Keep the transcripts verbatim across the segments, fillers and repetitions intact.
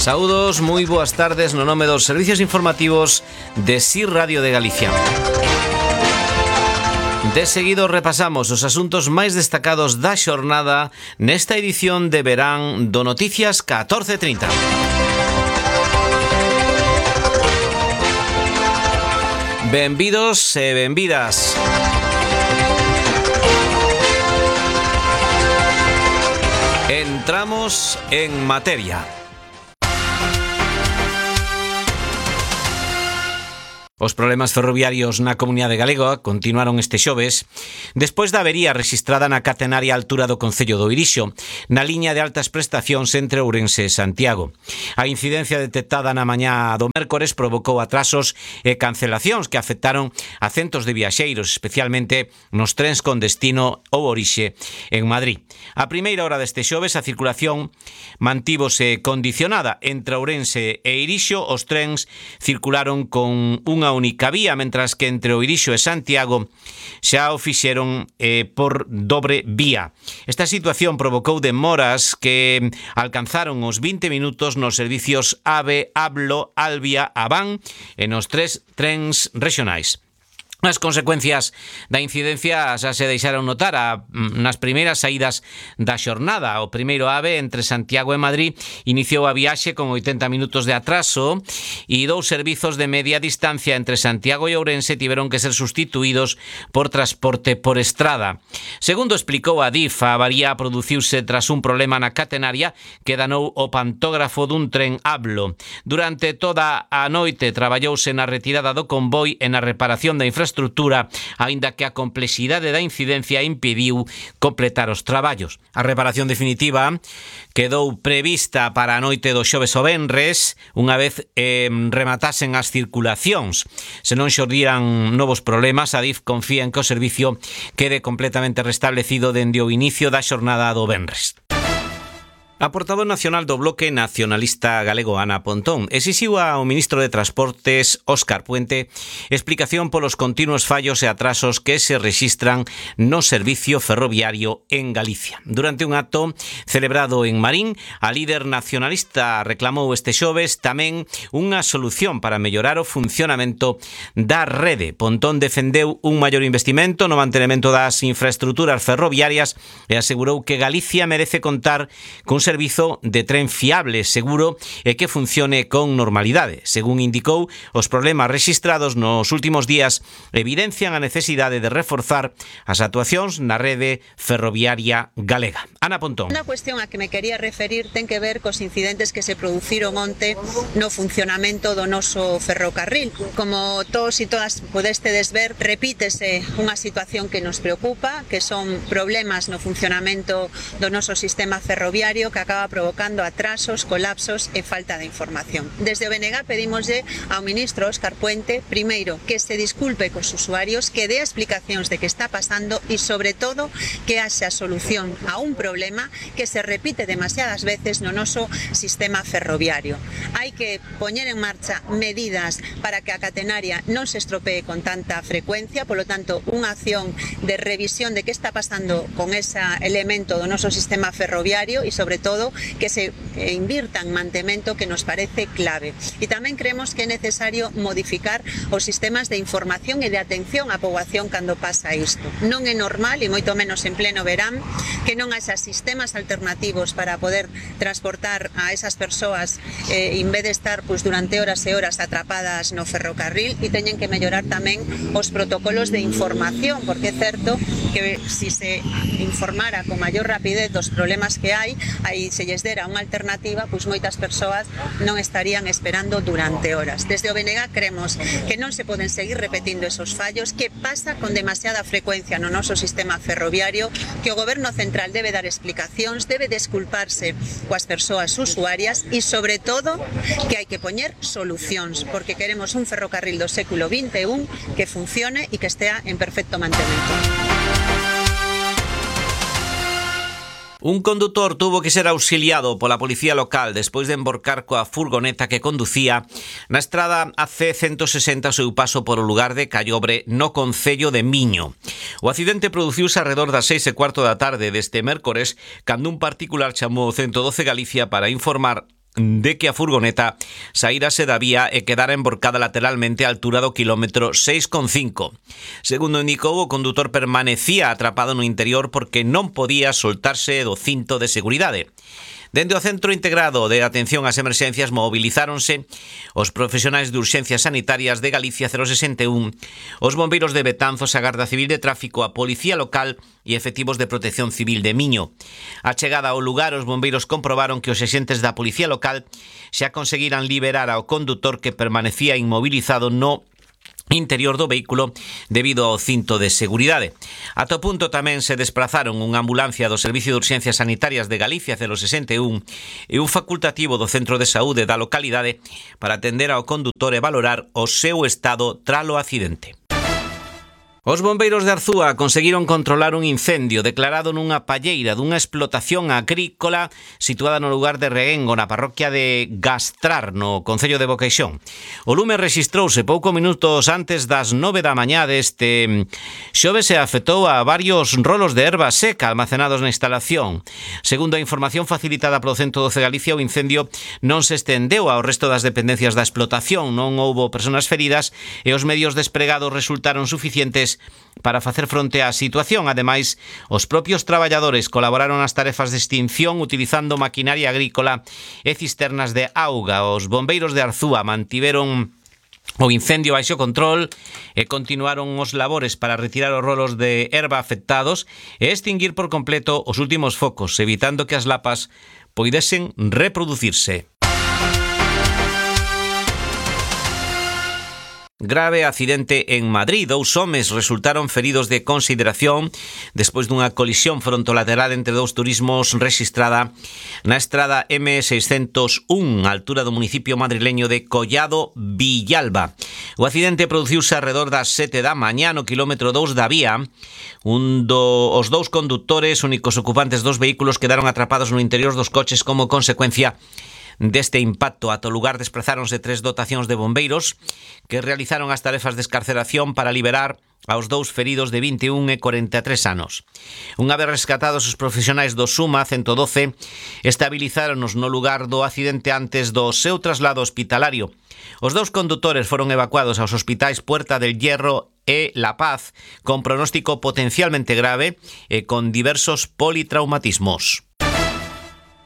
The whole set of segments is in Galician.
Saúdos, moi boas tardes no nome dos servicios informativos de S I R Radio de Galicia. De seguido repasamos os asuntos máis destacados da xornada nesta edición de verán do Noticias catorce trinta. Benvidos e benvidas. Entramos en materia. Os problemas ferroviarios na comunidade galega continuaron este xoves despois da avería rexistrada na catenaria altura do concello do Irixo, na liña de altas prestacións entre Ourense e Santiago. A incidencia detectada na mañá do mércores provocou atrasos e cancelacións que afectaron a centos de viaxeiros, especialmente nos trens con destino ou orixe en Madrid. A primeira hora deste xoves a circulación mantívose condicionada entre Ourense e Irixo. Os trens circularon con unha única vía, mentras que entre o Irixo e Santiago xa o fixeron eh, por dobre vía. Esta situación provocou demoras que alcanzaron os vinte minutos nos servicios AVE, ABLO, Albia, Aván e nos tres trens regionais. As consecuencias da incidencia xa se deixaron notar a, nas primeiras saídas da xornada. O primeiro AVE entre Santiago e Madrid iniciou a viaxe con oitenta minutos de atraso e dous servizos de media distancia entre Santiago e Ourense tiveron que ser sustituídos por transporte por estrada. Segundo explicou a D I F, a avaría produciuse tras un problema na catenaria que danou o pantógrafo dun tren ABLO. Durante toda a noite traballouse na retirada do convoi e na reparación da infraestructura estrutura, aínda que a complexidade da incidencia impediu completar os traballos. A reparación definitiva quedou prevista para a noite do xoves o venres, unha vez eh, rematasen as circulacións. Se non xordiran novos problemas, a D I F confía en que o servicio quede completamente restablecido dende o inicio da xornada do venres. A portavoz nacional do Bloque Nacionalista Galego, Ana Pontón, exixiu ao ministro de Transportes, Óscar Puente, explicación polos continuos fallos e atrasos que se rexistran no servicio ferroviario en Galicia. Durante un acto celebrado en Marín, a líder nacionalista reclamou este xoves tamén unha solución para mellorar o funcionamento da rede. Pontón defendeu un maior investimento no mantenimento das infraestruturas ferroviarias e asegurou que Galicia merece contar cun servizo de tren fiable, seguro e que funcione con normalidade. Según indicou, os problemas rexistrados nos últimos días evidencian a necesidade de reforzar as actuacións na rede ferroviaria galega. Ana Pontón. Unha cuestión a que me quería referir ten que ver cos incidentes que se produciron onte no funcionamento do noso ferrocarril. Como todos e todas podestedes ver, repítese unha situación que nos preocupa, que son problemas no funcionamento do noso sistema ferroviario que acaba provocando atrasos, colapsos e falta de información. Desde o B N G pedimoslle ao ministro Óscar Puente, primeiro, que se disculpe cos usuarios, que dé explicacións de que está pasando e, sobre todo, que haxa solución a un problema que se repite demasiadas veces no noso sistema ferroviario. Hai que poñer en marcha medidas para que a catenaria non se estropee con tanta frecuencia, polo tanto, unha acción de revisión de que está pasando con ese elemento do noso sistema ferroviario e, sobre todo, que se invirta en mantemento, que nos parece clave. E tamén creemos que é necesario modificar os sistemas de información e de atención á poboación cando pasa isto. Non é normal, e moito menos en pleno verán, que non haxa sistemas alternativos para poder transportar a esas persoas eh, en vez de estar pues, durante horas e horas atrapadas no ferrocarril, e teñen que mellorar tamén os protocolos de información, porque é certo que si se informara con maior rapidez dos problemas que hai, aí se lles dera unha alternativa, pois moitas persoas non estarían esperando durante horas. Desde o B N G creemos que non se poden seguir repetindo esos fallos, que pasa con demasiada frecuencia no noso sistema ferroviario, que o Goberno Central debe dar explicacións, debe desculparse coas persoas usuarias e, sobre todo, que hai que poñer solucións, porque queremos un ferrocarril do século vinte e un que funcione e que estea en perfecto mantemento. Un condutor tuvo que ser auxiliado pola policía local despois de emborcar coa furgoneta que conducía na estrada A C ciento sesenta ao seu paso por o lugar de Callobre no concello de Miño. O accidente produciuse arredor das seis e cuarto da tarde deste mércores, cando un particular chamou o ciento doce Galicia para informar de que a furgoneta saírase da vía e quedara emborcada lateralmente á altura do quilómetro seis coma cinco. Segundo indicou, o condutor permanecía atrapado no interior porque non podía soltarse do cinto de seguridade. Dende o Centro Integrado de Atención ás Emerxencias mobilizáronse os profesionais de urxencias sanitarias de Galicia cero sesenta e un, os bombeiros de Betanzos, a Garda Civil de Tráfico, a Policía Local e efectivos de Protección Civil de Miño. A chegada ao lugar, os bombeiros comprobaron que os axentes da Policía Local xa conseguiran liberar ao condutor que permanecía inmobilizado no interior do vehículo debido ao cinto de seguridade. Ata o punto tamén se desprazaron unha ambulancia do Servicio de Urxencias Sanitarias de Galicia cero sesenta e un e un facultativo do Centro de Saúde da localidade para atender ao condutor e valorar o seu estado tralo accidente. Os bombeiros de Arzúa conseguiron controlar un incendio declarado nunha palleira dunha explotación agrícola situada no lugar de Reguengo, na parroquia de Gastrar, no concello de Boqueixón. O lume rexistrouse pouco minutos antes das nove da mañá deste xoves e afectou a varios rolos de erva seca almacenados na instalación. Segundo a información facilitada polo ciento doce Galicia, o incendio non se estendeu ao resto das dependencias da explotación, non houbo persoas feridas e os medios despregados resultaron suficientes para facer fronte á situación. Ademais, os propios traballadores colaboraron nas tarefas de extinción utilizando maquinaria agrícola e cisternas de auga. Os bombeiros de Arzúa mantiveron o incendio baixo control e continuaron os labores para retirar os rolos de erva afectados e extinguir por completo os últimos focos, evitando que as lapas poidesen reproducirse. Grave accidente en Madrid. Dous homes resultaron feridos de consideración despois dunha colisión frontolateral entre dous turismos rexistrada na estrada eme seiscentos un, á altura do municipio madrileño de Collado Villalba. O accidente produciuse alrededor das sete da mañá no quilómetro dous da vía. Un do, os dous condutores, únicos ocupantes dos vehículos, quedaron atrapados no interior dos coches como consecuencia deste impacto. Ata o lugar desprazáronse tres dotacións de bombeiros que realizaron as tarefas de escarceración para liberar aos dous feridos de vinte e un e corenta e tres anos. Unha vez rescatados, os profesionais do SUMA ciento doce estabilizáronos no lugar do accidente antes do seu traslado hospitalario. Os dous condutores foron evacuados aos hospitais Puerta del Hierro e La Paz con pronóstico potencialmente grave e con diversos politraumatismos.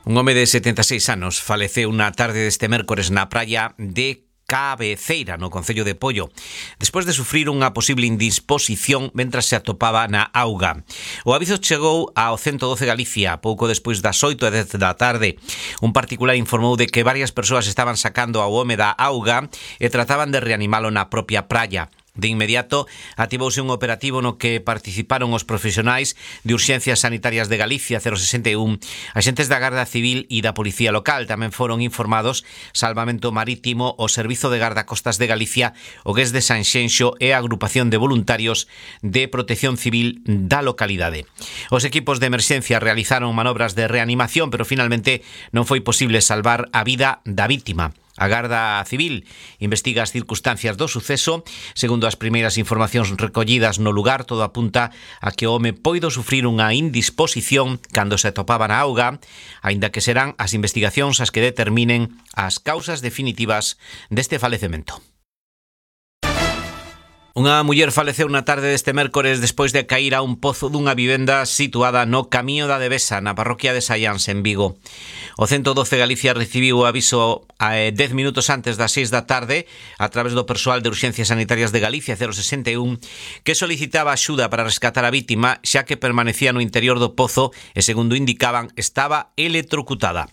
Un home de setenta e seis anos faleceu na tarde deste mércores na praia de Cabeceira, no concello de Pollo, despois de sufrir unha posible indisposición mentras se atopaba na auga. O aviso chegou ao ciento doce Galicia pouco despois das oito e dez da tarde. Un particular informou de que varias persoas estaban sacando ao home da auga e trataban de reanimalo na propia praia. De inmediato, ativouse un operativo no que participaron os profesionais de Urxencias Sanitarias de Galicia cero sesenta e un, axentes da Garda Civil e da Policía Local. Tamén foron informados Salvamento Marítimo, o Servizo de Gardacostas de Galicia, o G E S de Sanxenxo e a Agrupación de Voluntarios de Protección Civil da localidade. Os equipos de emerxencia realizaron manobras de reanimación, pero finalmente non foi posible salvar a vida da vítima. A Garda Civil investiga as circunstancias do suceso. Segundo as primeiras informacións recollidas no lugar, todo apunta a que o home poido sufrir unha indisposición cando se atopaba na auga, aínda que serán as investigacións as que determinen as causas definitivas deste falecemento. Unha muller faleceu na tarde deste mércores despois de cair a un pozo dunha vivenda situada no Camiño da Devesa, na parroquia de Saiáns, en Vigo. O ciento doce Galicia recibiu o aviso a dez minutos antes das seis da tarde a través do persoal de Urxencias Sanitarias de Galicia cero sesenta e un que solicitaba axuda para rescatar a vítima, xa que permanecía no interior do pozo e, segundo indicaban, estaba electrocutada.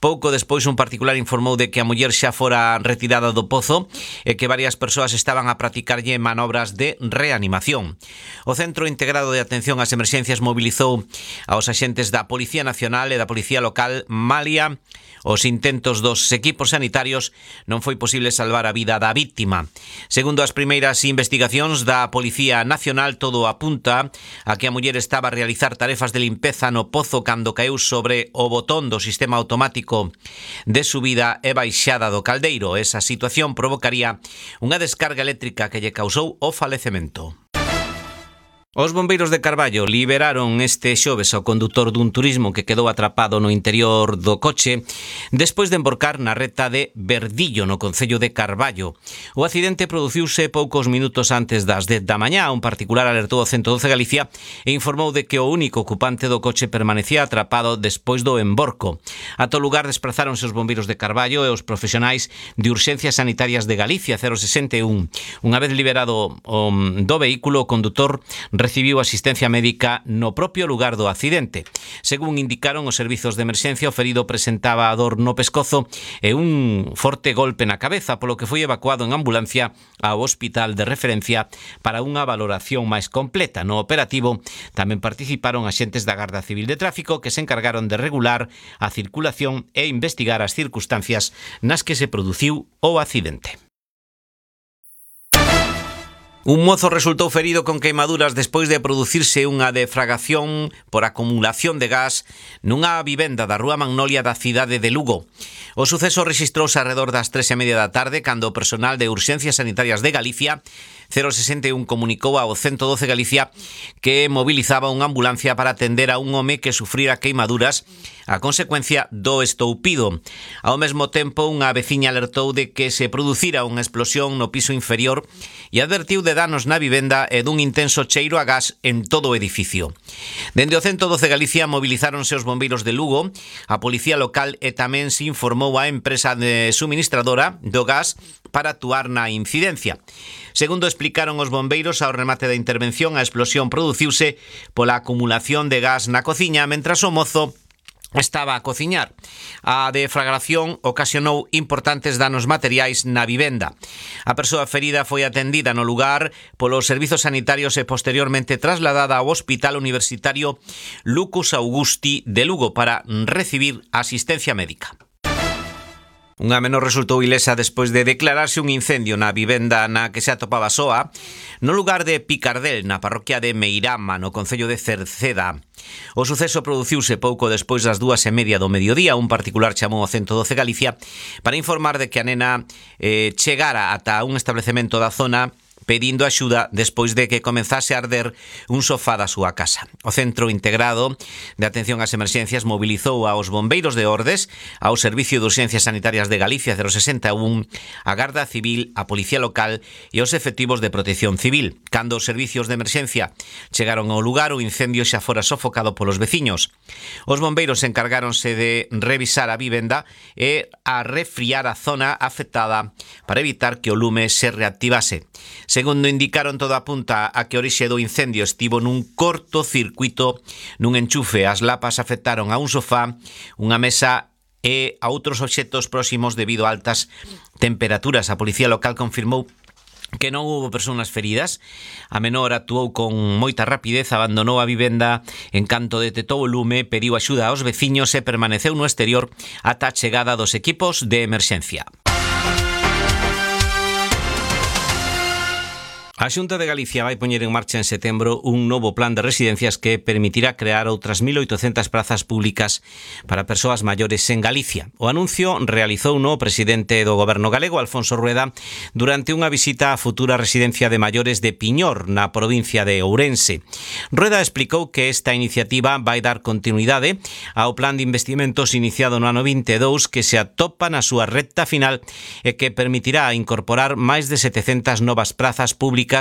Pouco despois, un particular informou de que a muller xa fora retirada do pozo e que varias persoas estaban a practicarlle manobras de reanimación. O Centro Integrado de Atención ás Emerxencias mobilizou aos axentes da Policía Nacional e da Policía Local. Malia os intentos dos equipos sanitarios, non foi posible salvar a vida da vítima. Segundo as primeiras investigacións da Policía Nacional, todo apunta a que a muller estaba a realizar tarefas de limpeza no pozo cando caeu sobre o botón do sistema automático de subida e baixada do caldeiro. Esa situación provocaría unha descarga eléctrica que lle causou o falecemento. Os bombeiros de Carballo liberaron este xoves ao condutor dun turismo que quedou atrapado no interior do coche despois de emborcar na reta de Verdillo, no concello de Carballo. O accidente produciuse poucos minutos antes das dez da mañá. Un particular alertou ao ciento doce Galicia e informou de que o único ocupante do coche permanecía atrapado despois do emborco. A todo lugar desprazáronse os bombeiros de Carballo e os profesionais de Urxencias Sanitarias de Galicia cero sesenta e un. Unha vez liberado o, do vehículo, o condutor recibiu asistencia médica no propio lugar do accidente. Según indicaron os servizos de emerxencia, o ferido presentaba a dor no pescozo e un forte golpe na cabeza, polo que foi evacuado en ambulancia ao hospital de referencia para unha valoración máis completa. No operativo tamén participaron axentes da Garda Civil de Tráfico que se encargaron de regular a circulación e investigar as circunstancias nas que se produciu o accidente. Un mozo resultou ferido con queimaduras despois de producirse unha defragación por acumulación de gas nunha vivenda da Rúa Magnolia da cidade de Lugo. O suceso rexistrouse arredor das tres e media da tarde cando o personal de Urxencias Sanitarias de Galicia cero sesenta e un comunicou ao ciento doce Galicia que mobilizaba unha ambulancia para atender a un home que sufrira queimaduras a consecuencia do estoupido. Ao mesmo tempo, unha veciña alertou de que se producira unha explosión no piso inferior e advertiu de danos na vivenda e dun intenso cheiro a gas en todo o edificio. Dende o ciento doce Galicia movilizáronse os bombeiros de Lugo, a policía local e tamén se informou á empresa de suministradora do gas para actuar na incidencia. Segundo explicaron os bombeiros, ao remate da intervención, a explosión produciuse pola acumulación de gas na cociña mentras o mozo estaba a cociñar. A deflagración ocasionou importantes danos materiais na vivenda. A persoa ferida foi atendida no lugar polos servizos sanitarios e posteriormente trasladada ao Hospital Universitario Lucus Augusti de Lugo para recibir asistencia médica. Unha menor resultou ilesa despois de declararse un incendio na vivenda na que se atopaba soa no lugar de Picardel, na parroquia de Meirama, no concello de Cerceda. O suceso produciuse pouco despois das dúas e media do mediodía. Un particular chamou ao ciento doce Galicia para informar de que a nena eh, chegara ata un establecemento da zona pedindo axuda despois de que comenzase a arder un sofá da súa casa. O Centro Integrado de Atención ás Emerxencias mobilizou aos bombeiros de Ordes, ao Servicio de Urxencias Sanitarias de Galicia cero sesenta e un, a Garda Civil, a Policía Local e os efectivos de Protección Civil. Cando os servicios de emerxencia chegaron ao lugar, o incendio xa fora sofocado polos veciños. Os bombeiros encargáronse de revisar a vivenda e a refriar a zona afectada para evitar que o lume se reactivase. Segundo indicaron, todo apunta a que a orixe do incendio estivo nun cortocircuito nun enchufe. As lapas afectaron a un sofá, unha mesa e a outros obxectos próximos debido a altas temperaturas. A policía local confirmou que non houbo persoas feridas. A menor actuou con moita rapidez, abandonou a vivenda en canto detectou o lume, pediu axuda aos veciños e permaneceu no exterior ata a chegada dos equipos de emerxencia. A Xunta de Galicia vai poñer en marcha en setembro un novo plan de residencias que permitirá crear outras mil oitocentas prazas públicas para persoas maiores en Galicia. O anuncio realizou o presidente do Goberno galego, Alfonso Rueda, durante unha visita á futura residencia de maiores de Piñor, na provincia de Ourense. Rueda explicou que esta iniciativa vai dar continuidade ao plan de investimentos iniciado no ano vinte e dous que se atopa na súa recta final e que permitirá incorporar máis de setecentas novas prazas públicas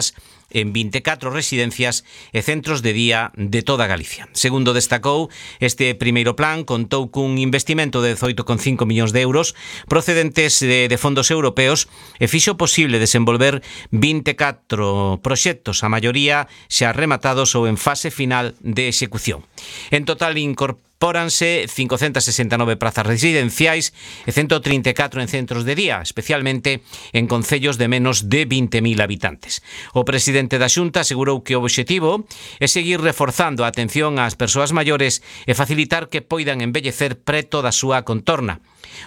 en vinte e catro residencias e centros de día de toda Galicia. Segundo destacou, este primeiro plan contou cun investimento de dezoito coma cinco millóns de euros procedentes de, de fondos europeos e fixo posible desenvolver vinte e catro proxectos, a maioría xa rematados ou en fase final de execución. En total incorporou Póranse cincocentas sesenta e nove prazas residenciais e ciento trinta e catro en centros de día, especialmente en concellos de menos de vinte mil habitantes. O presidente da Xunta asegurou que o obxectivo é seguir reforzando a atención ás persoas maiores e facilitar que poidan envellecer preto da súa contorna.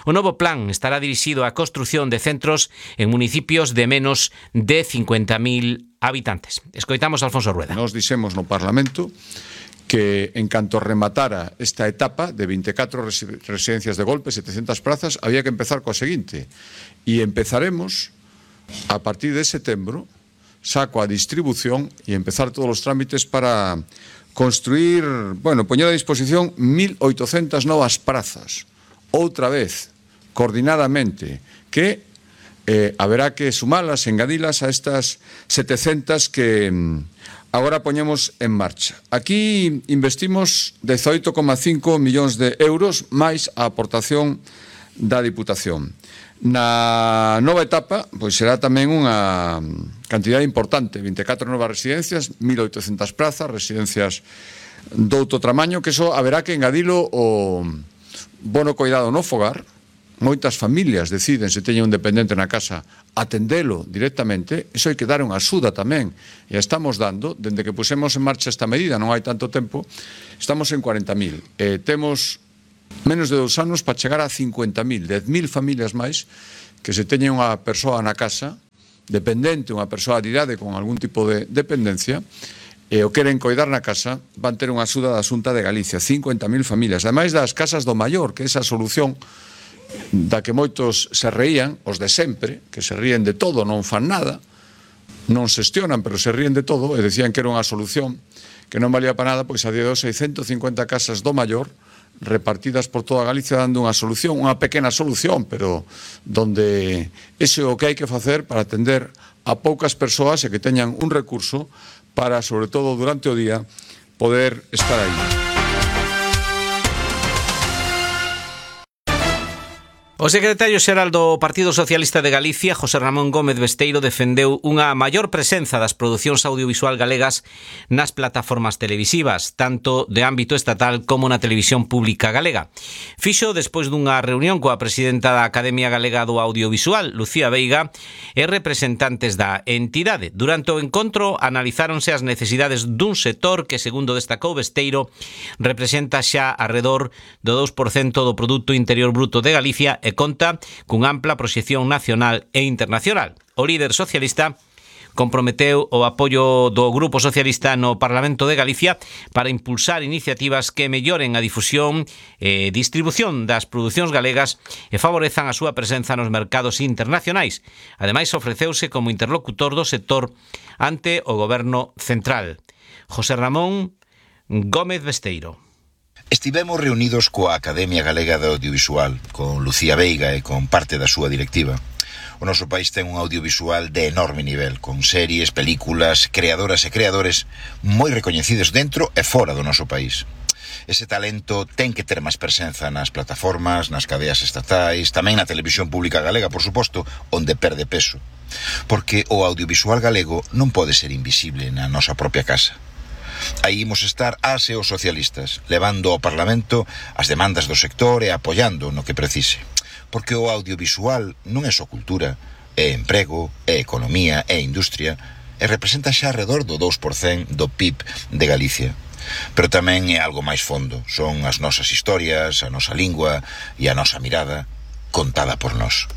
O novo plan estará dirixido á construción de centros en municipios de menos de cincuenta mil habitantes. Escoitamos a Alfonso Rueda. Nos dixemos no Parlamento que en canto rematara esta etapa de vinte e catro residencias de golpe, setecentas prazas, había que empezar coa seguinte. E empezaremos a partir de setembro saco a distribución e empezar todos os trámites para construir, bueno, poñer a disposición mil oitocentas novas prazas, outra vez, coordinadamente, que eh, haberá que sumalas, engadilas a estas setecentas que agora poñemos en marcha. Aquí investimos dezoito coma cinco millóns de euros máis a aportación da Diputación. Na nova etapa, pois será tamén unha cantidade importante, vinte e catro novas residencias, mil oitocentas prazas, residencias doutro tamaño, que eso haberá que engadilo o bono coidado no fogar. Moitas familias deciden, se teñen un dependente na casa, atendelo directamente. Iso hai que dar unha axuda tamén. E estamos dando, dende que pusemos en marcha esta medida, non hai tanto tempo, estamos en cuarenta mil. E temos menos de dous anos para chegar a cincuenta mil, dez mil familias máis que se teñen unha persoa na casa, dependente, unha persoa de idade con algún tipo de dependencia, e o queren coidar na casa, van ter unha axuda da Xunta de Galicia, cincuenta mil familias. Ademais das casas do maior, que é esa solución da que moitos se reían, os de sempre, que se ríen de todo, non fan nada, non xestionan, pero se ríen de todo, e decían que era unha solución que non valía para nada, pois a día de hoxe hai ciento cincuenta casas do maior repartidas por toda Galicia dando unha solución, unha pequena solución, pero donde ese é o que hai que facer para atender a poucas persoas e que teñan un recurso para, sobre todo durante o día, poder estar aí. O secretario xeral do Partido Socialista de Galicia, José Ramón Gómez Besteiro, defendeu unha maior presenza das producións audiovisual galegas nas plataformas televisivas, tanto de ámbito estatal como na televisión pública galega. Fixo despois dunha reunión coa presidenta da Academia Galega do Audiovisual, Lucía Veiga, e representantes da entidade. Durante o encontro analizáronse as necesidades dun sector que, segundo destacou Besteiro, representa xa arredor do dous por cento do Produto Interior Bruto de Galicia e conta cunha ampla proxección nacional e internacional. O líder socialista comprometeu o apoio do Grupo Socialista no Parlamento de Galicia para impulsar iniciativas que melloren a difusión e distribución das producións galegas e favorezan a súa presenza nos mercados internacionais. Ademais, ofreceuse como interlocutor do sector ante o Goberno Central. José Ramón Gómez Besteiro. Estivemos reunidos coa Academia Galega de Audiovisual, con Lucía Veiga e con parte da súa directiva. O noso país ten un audiovisual de enorme nivel, con series, películas, creadoras e creadores moi recoñecidos dentro e fora do noso país. Ese talento ten que ter máis presenza nas plataformas, nas cadeas estatais, tamén na televisión pública galega, por suposto, onde perde peso. Porque o audiovisual galego non pode ser invisible na nosa propia casa. Aí imos estar as e os socialistas, levando ao Parlamento as demandas do sector e apoiando no que precise. Porque o audiovisual non é só cultura, é emprego, é economía, é industria, e representa xa alrededor do dous por cento do P I B de Galicia. Pero tamén é algo máis fondo, son as nosas historias, a nosa lingua e a nosa mirada contada por nós.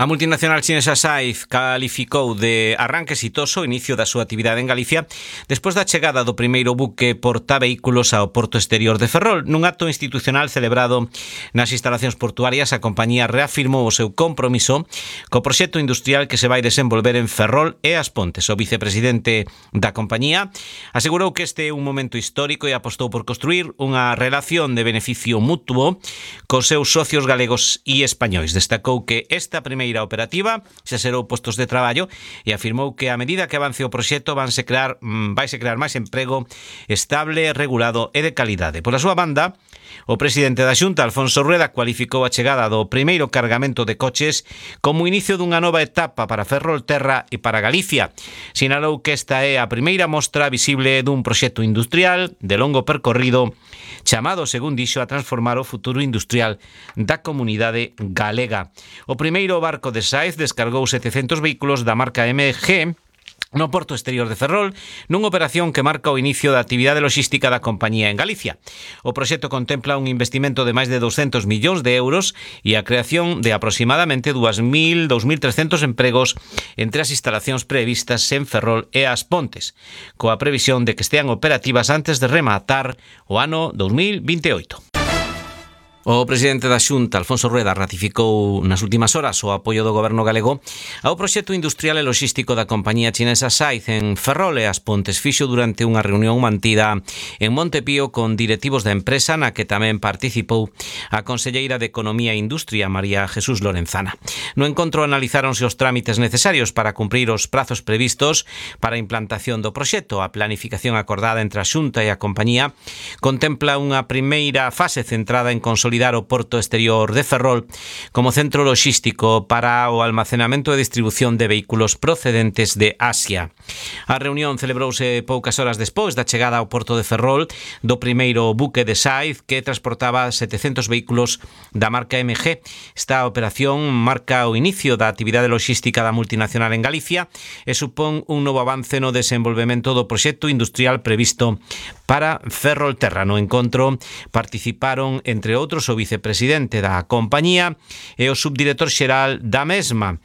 A multinacional chinesa Saif calificou de arranque exitoso o inicio da súa actividade en Galicia despois da chegada do primeiro buque portavehículos ao porto exterior de Ferrol. Nun acto institucional celebrado nas instalacións portuarias, a compañía reafirmou o seu compromiso co proxecto industrial que se vai desenvolver en Ferrol e As Pontes. O vicepresidente da compañía asegurou que este é un momento histórico e apostou por construir unha relación de beneficio mutuo cos seus socios galegos e españois. Destacou que esta primeira operativa xa xerou postos de traballo e afirmou que a medida que avance o proxecto vanse crear, vaise crear máis emprego estable, regulado e de calidade. Pola súa banda, o presidente da Xunta, Alfonso Rueda, cualificou a chegada do primeiro cargamento de coches como inicio dunha nova etapa para Ferrolterra e para Galicia. Sinalou que esta é a primeira mostra visible dun proxecto industrial de longo percorrido chamado, según dixo, a transformar o futuro industrial da comunidade galega. O primeiro barco de Saif descargou setecentos vehículos da marca M G no porto exterior de Ferrol, nunha operación que marca o inicio da actividade logística da compañía en Galicia. O proxecto contempla un investimento de máis de douscentos millóns de euros e a creación de aproximadamente dous mil, dous mil trescentos empregos entre as instalacións previstas en Ferrol e As Pontes, coa previsión de que estean operativas antes de rematar o ano dous mil vinte e oito. O presidente da Xunta, Alfonso Rueda, ratificou nas últimas horas o apoio do goberno galego ao proxecto industrial e logístico da compañía chinesa Saiz en Ferrol e As Pontes. Fixo durante unha reunión mantida en Montepío con directivos da empresa, na que tamén participou a conselleira de Economía e Industria, María Jesús Lorenzana. No encontro analizáronse os trámites necesarios para cumprir os prazos previstos para a implantación do proxecto. A planificación acordada entre a Xunta e a compañía contempla unha primeira fase centrada en consolidar o porto exterior de Ferrol como centro logístico para o almacenamento e distribución de vehículos procedentes de Asia. A reunión celebrouse poucas horas despois da chegada ao porto de Ferrol do primeiro buque de Saiz que transportaba setecentos vehículos da marca M G. Esta operación marca o inicio da actividade logística da multinacional en Galicia e supón un novo avance no desenvolvemento do proxecto industrial previsto para Ferrolterra. No encontro participaron, entre outros, o vicepresidente da compañía e o subdirector xeral da mesma.